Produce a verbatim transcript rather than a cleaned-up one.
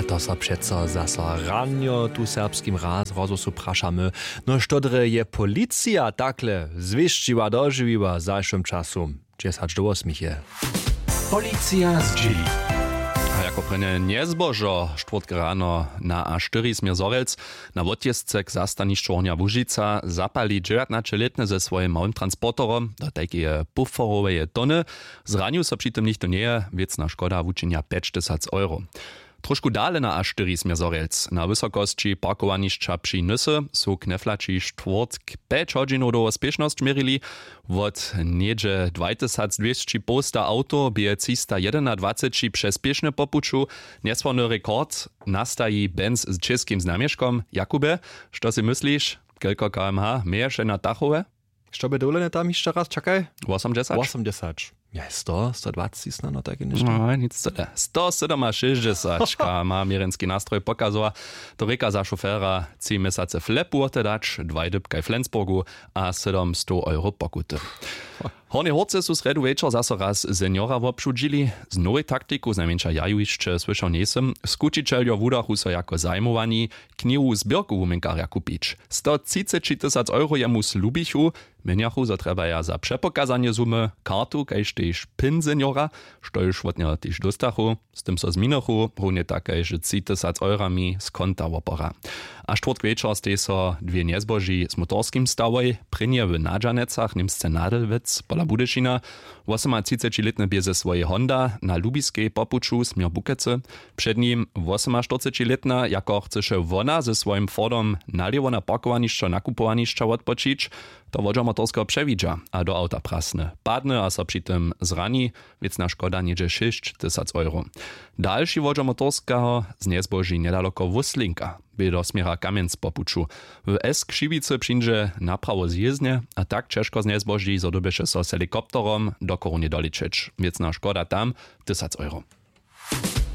To so přeco zaso ranjo tu w serbskim raz rozhłosu prašamy, no što drje je policija takle zwěsćiła dožiwiła w zašłym času? Dźesać do wosmich je. Policija zdźěli. A jako prěnje njezbožo štwórtk rano na a štyri směr zhorjelc, na wotjězce k zastanišću hornja łužica zapali dźewjatnaćelětny ze swojim małym transporterom do tajkeje pufforoweje tony. Zranił so při tym nichtó njeje. Wěcna škoda wučinja pjećtysac euro. Trošku dale na a štyri směr zhorjelc na wysokosći parkowanišća při nysy su kneflaći štwórtk pjeć hodźinow dołho spěšnosć měrili. Wot něhdźe dwajtysacdwěsći połsta awtow bě třista jedenadwaceći přez spěšnje po puću. Njesławny rekord nastaji benz z čěskim znamješkom. Jakubje, što sej mysliš, kelko kmh měješe na tachowe? Što bě dowolene tam hišće raz čakaj? Wosomdźesać. Wosomdźesać. Je sto sto dwaceći snano tajke něšto. No nic tyle, sto sydomašěsćdźesać kmh měrjenski nastroj pokazowa. To rěka za šofera tři měsace flepu wote dać dwaj dypkaj w flensburgu a sydomstow euro pokuty. Hornje hórce su srjedu wječor zaso raz seniora wobšudźili. Z nowej taktiku znajmjeńša ja ju hišće słyšał njejsym. Skućićeljo wudachu so jako zajimowani knihu zběrku wuměnkarja kupić. Sto třiceći tysac euro jemu slubichu. Měnjachu zo trjebaja za přepokazanje sumy kartu kaž tež pin seniora, štož wot njeho tež dóstachu. Z tym so zminichu hrónje tak kaž tři tysac eurami z konta wopora. A štwórtk wječor stej so dwě njezboži z motorskim stawoj prěnje w nadźanecach němsce nadelwec pola budyšina. Wosomatřicećilětny bě ze swojej honda na lubiskej po puću směr bukecy. Před nim wosomaštyrcećilětna jako chcyše wona ze swojim fordom nalěwo na parkowanišćo nakupowanišća wotpočić. To wodźer motorskeho přewidźa a do awta prasny padny a so při tym zrani. Wěcna škoda něhdźe šěsć tysac euro. Dalši wodźer motorskeho znjezboži njedaloko wuslinka bě do směra kamjenc po puću. W s křiwicy přińdźe naprawo zjězdnje a tak ćežko znjezboži zo dyrbješe so z helikopterom do korunje doličeć. Wěcna škoda tam tysac euro.